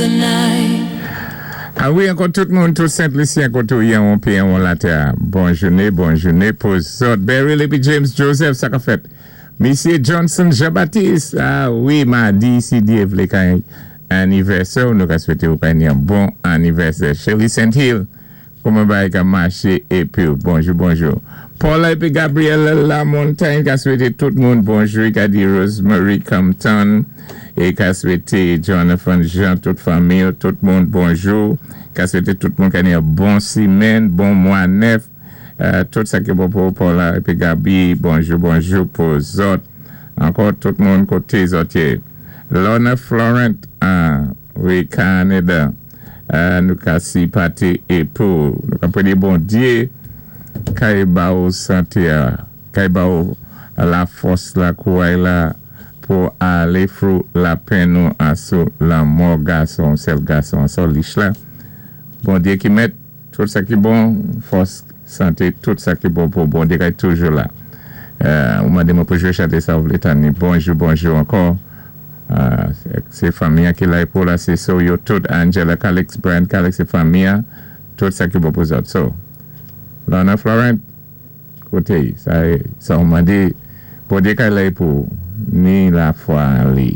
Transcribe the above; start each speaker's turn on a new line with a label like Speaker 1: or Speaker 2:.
Speaker 1: the night.
Speaker 2: A wi, ankò tout moun, tout Sent Lisyen koté ou yé an péyi an latè. Bon jouné, bon jouné pou zòt. Beryl épi James Joseph, sa ka fèt. Misyé Johnson Jean-Baptiste, a wi, madi, si Dye vlé kay anivèsè, nou ka swété ou kay yon bon anivèsè. Shirley St. Hill, kouman bagay ka maché épi bonjou, bonjou. Paula épi Gabriel Lamontagne ka swété tout moun bonjou, ka di Rosemary Compton é ka swété Jonathan Jean, tout fanmi, tout moun bonjou. Ka swété tout moun ka yon bon simenn, bon mwa nèf. Tout sa ki bon pou Paula épi Gabi, bonjou, bonjou pou zòt. Ankò tout moun koté zòt yé. Lorna Florent, ah, wi, Kanada. Nou ka sipaté é pou nou ka pwédé Bondyé kay ba ou santé a, kay ba ou la fòs la, kouray la pou alé through lapenn nou asou lanmò gason, sèl gason an, Solich la. Bondyé ki mèt tout sa ki bon, fòs, santé, tout sa ki bon pou Bondyé kay toujou la. Ou mandé mwen pou jwé chanté sa ou vlé tann ni. Bonjou, bonjou ankò. Sé fanmi an ki la pou la, sé so yo tout Angela Calix, Brian Calix, sé fanmi an, tout sa ki bon pou zòt. So, Lorna Florent, koté, sa, sa ou mandé, Bondyé kay la pou ni lafwa li.